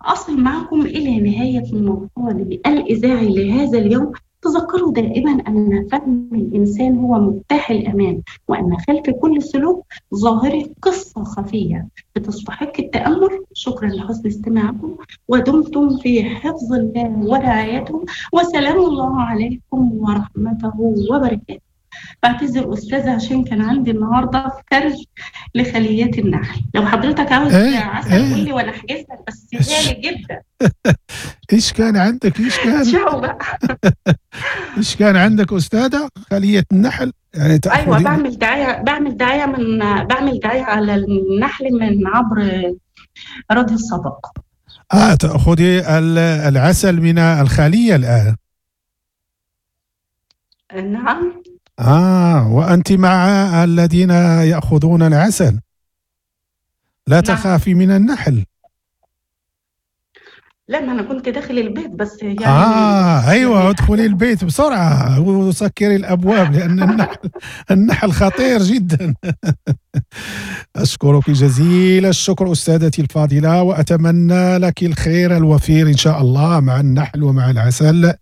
أصل معكم إلى نهاية الموضوع الإذاعي لهذا اليوم. تذكروا دائما أن فهم الإنسان هو مفتاح الأمان، وأن خلف كل سلوك ظاهري قصة خفية بتستحق التأمل. شكرا لحسن استماعكم، ودمتم في حفظ الله ورعايته، وسلام الله عليكم ورحمته وبركاته. بعتذر أستاذة عشان كان عندي النهاردة فرز لخليات النحل. لو حضرتك عاوز عسل قول لي وأنا أحجز لك، بس غالي جدا. إيش كان عندك؟ إيش كان؟ شو بقى؟ إيش كان عندك أستاذة؟ خلية النحل يعني؟ أيوة، بعمل دعاية على النحل من عبر راديو الصداقة. تأخذي العسل من الخلية الآن؟ نعم. وأنت مع الذين يأخذون العسل، لا تخافي من النحل. لا، ما أنا كنت داخل البيت بس يعني. أيوة، يعني ادخلي البيت بسرعة وسكري الأبواب لأن النحل خطير جدا. أشكرك جزيل الشكر أستاذتي الفاضلة، وأتمنى لك الخير الوفير إن شاء الله مع النحل ومع العسل،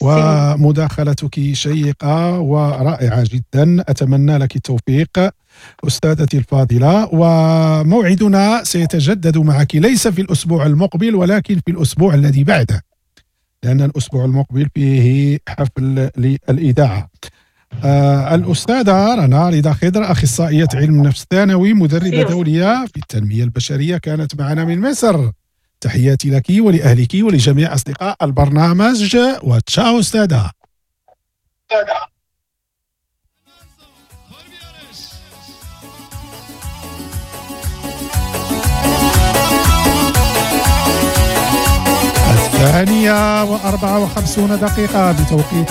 ومداخلتك شيقة ورائعة جدا، أتمنى لك التوفيق أستاذتي الفاضلة. وموعدنا سيتجدد معك ليس في الأسبوع المقبل ولكن في الأسبوع الذي بعده، لأن الأسبوع المقبل فيه حفل للإذاعة. الأستاذة رنا رضا خضر، أخصائية علم نفس ثانوي، مدربة دولية في التنمية البشرية، كانت معنا من مصر. تحياتي لك ولأهلك ولجميع أصدقاء البرنامج، وتشاو أستاذة. 2:54 بتوقيت